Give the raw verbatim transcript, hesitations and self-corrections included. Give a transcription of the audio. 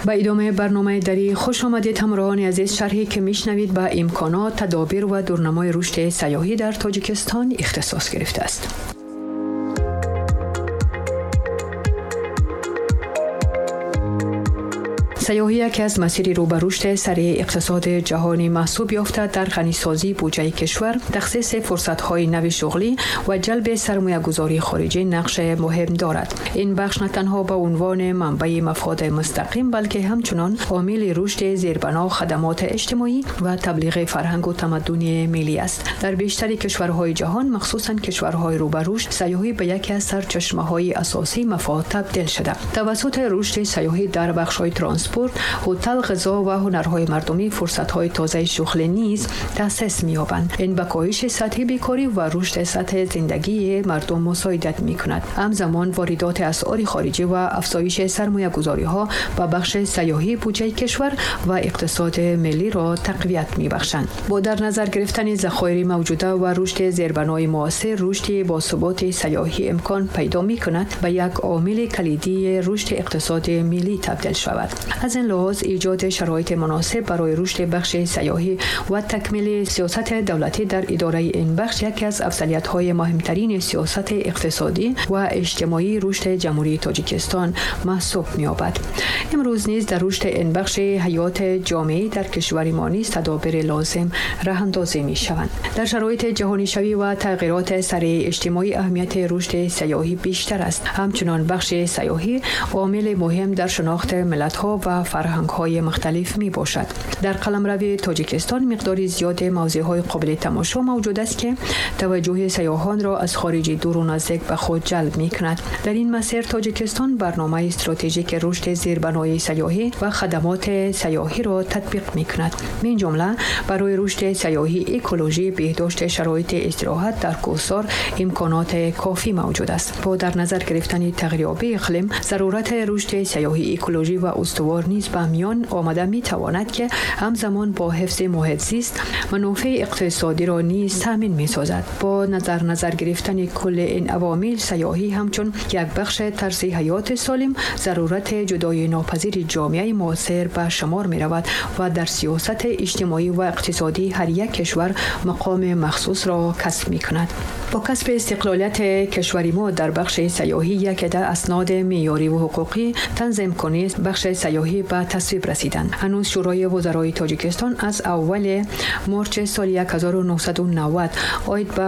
Ба идомаи барномаи дарӣ хуш омадед, ҳамроҳони азиз. Шарҳе ки мешунавед ба имконот, тадобир ва дурнамои рушди сайёҳӣ дар Тоҷикистон ихтисос гирифтааст. Сайёҳӣ яке аз масири рӯ ба рушди сариъи иқтисоди ҷаҳонӣ маҳсуб ёфта, дар ғанисозии буҷаи кишвар, тахсиси фурсатҳои нави шуғлӣ ва ҷалби сармоягузории хориҷӣ нақши муҳим дорад. Ин бахш на танҳо ба унвони манбаи мафоди мустақим, балки ҳамчунон омили рушди зербино, хадамоти иҷтимоӣ ва таблиғи фарҳангу тамаддуни миллӣ аст. Дар бештари кишварҳои ҷаҳон, махсусан кишварҳои рӯ ба рушд, сайёҳӣ ба яке аз сарчашмаҳои асосии мафод табдил шуда. Тавассути рушди сайёҳӣ дар бахшҳои транспорт, ҳотел, ғизо ва ҳунарҳои мардумӣ фурсатҳои тозаи шуғлӣ низ таъсис меёбанд. Ин ба коҳиши сатҳи бекорӣ ва рушди сатҳи зиндагии мардум мусоидат мекунад. Ҳамзамон воридоти асъори хориҷӣ ва афзоиши сармоягузориҳо ба бахши сайёҳӣ буҷаи кишвар ва иқтисоди миллиро тақвият мебахшанд. Бо дар назар гирифтани захоири мавҷуда ва рушди зербинои муосир, рушди босуботи сайёҳӣ имкон пайдо мекунад ба як омили калидии рушди иқтисоди миллӣ табдил шавад. Аз ин лиҳоз эҷоди шароити муносиб барои рушди бахши сайёҳӣ ва такмили сиёсати давлатӣ дар идораи ин бахш яке аз афзалиятҳои муҳимтарини сиёсати иқтисодӣ ва иҷтимоии рушди Ҷумҳурии Тоҷикистон маҳсуб меёбад. Имрӯз низ дар рушди ин бахши ҳаёти ҷомеӣ дар кишвари мо низ тадобири лозим роҳандозӣ мешаванд. Дар шароити ҷаҳонишавӣ ва тағйироти сариъи иҷтимоӣ аҳамияти рушди сайёҳӣ бештар аст. Ҳамчунон бахши сайёҳӣ омили муҳим дар шинохти миллатҳо ва фарҳангҳои мухталиф мебошад. Дар қаламрави Тоҷикистон миқдори зиёди мавзеъҳои қобили тамошо мавҷуд аст, ки таваҷҷӯҳи сайёҳонро аз хориҷи дуру наздик ба худ ҷалб мекунад. Дар ин масир Тоҷикистон барномаи стратегики рушди зербинои сайёҳӣ ва хадамоти сайёҳиро татбиқ мекунад. Мин ҷумла барои рушди сайёҳӣ, экологӣ, беҳдошти шароити истироҳат дар кӯҳсор имконоти кофӣ мавҷуд аст. Бо дар назар гирифтани тағйирёбии иқлим, зарурати рушди сайёҳӣ, экологӣ ва устувор низ ба миён омада метавонад, ки ҳамзамон бо ҳифзи муҳит зист манфаати иқтисодиро низ таъмин месозад. Бо назар назар гирифтани кулли ин авомил, сайёҳӣ ҳамчун як бахши тарзи ҳаёти солим зарурати ҷудои нопазири ҷомеаи муосир ба шумор меравад ва дар сиёсати иҷтимоӣ ва иқтисодии ҳар як кишвар мақоми махсусро касб мекунад. Бо касби истиқлолияти кишвари мо дар бахши сайёҳӣ яке аз асноди меъёрӣ ва ҳуқуқӣ танзимкунии бахши сайёҳӣ ба тасвиб расиданд. Ҳанӯз Шӯрои вузарои Тоҷикистон аз аввали марти соли ҳазору нӯҳсаду навад оид ба